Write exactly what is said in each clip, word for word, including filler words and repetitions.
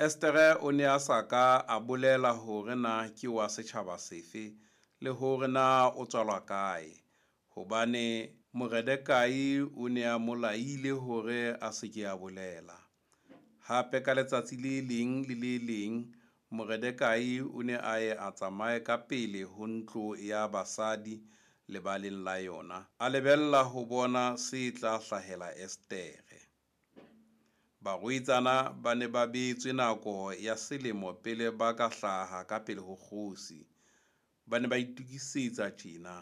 Esetere o ne a sa ka a bolela hore na ke wa setjhaba sefe, le hore na o tswalwa kae, hobane Moredekai o ne a mo laile hore a se ke a bolela. Hape, ka letsatsi le leng le le leng Moredekai o ne a ye a tsamaye ka pele ho ntlo ya basadi lebaleng la yona, a lebella ho bona se tla hlahela Esetere. Barwetsana ba ne ba beetswe nako ya selemo pele ba ka hlaha ka pele ho kgosi. Ba ne ba itokisetsa tjena,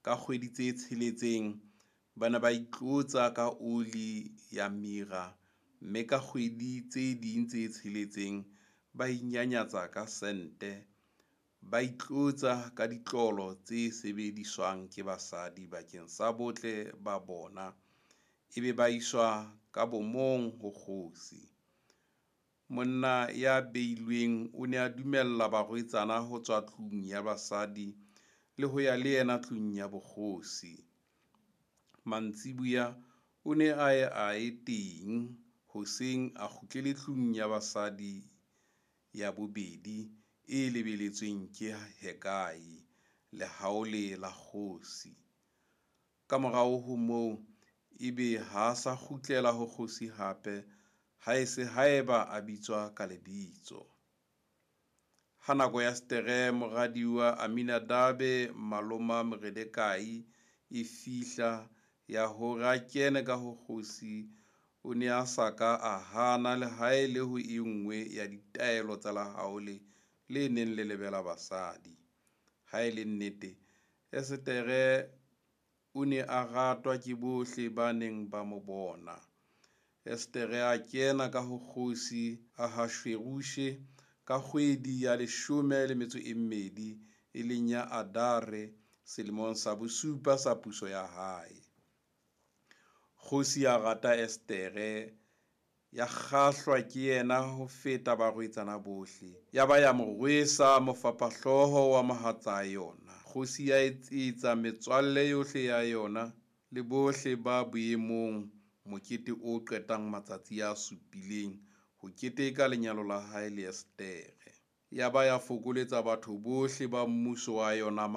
ka kgwedi tse tsheletseng ba ne ba itlotsa ka oli ya mira, mme ka kgwedi tse ding tse tsheletseng ba inyanyatsa ka sente, ba itlotsa ka ditlolo tse sebediswang ke basadi bakeng sa botle ba bona, ebe ba iswa ka bomong ho kgosi. Monna ya beilweng o ne a dumella barwetsana ho tswa tlung ya basadi le ho ya le yena tlung ya bokgosi. Mantsiboya o ne a ye a ye teng, hoseng a kgutlele tlung ya basadi ya bobedi e lebeletsweng ke Hekai, lehaole la kgosi. Ka morao ho moo, ebe ha a sa kgutlela ho kgosi hape, haese haeba a bitswa ka lebitso. Ha nako ya Esetere moradi wa Aminadabe maloma Moredekai e fihla ya hore a kene ka ho kgosi, o ne a sa ka a hana le ha e le ho e nngwe ya ditaelo tsa lehaole le neng le lebela basadi. Ha e le nnete, Esetere o ne a ratwa ke bohle ba neng ba mo bona. Esetere a kena ka ho kgosi Ahashuerushe ka kgwedi ya leshome le metso e mmedi, e leng ya Adare, selemong sa bosupa sa puso ya hae. Kgosi ya rata Esetere, ya kgahlwa ke yena ho feta barwetsana bohle, ya ba ya mo rwesa mofapahlooho wa mohatsa yona. Kgosi ya etsetsa metswalle yohle ya yona le bohle ba boemong mokete o qetang matsatsi a supileng ho keteka lenyalo la hae le Esetere. Ya ba ya fokoletsa batho bohle ba mmuso wa yona.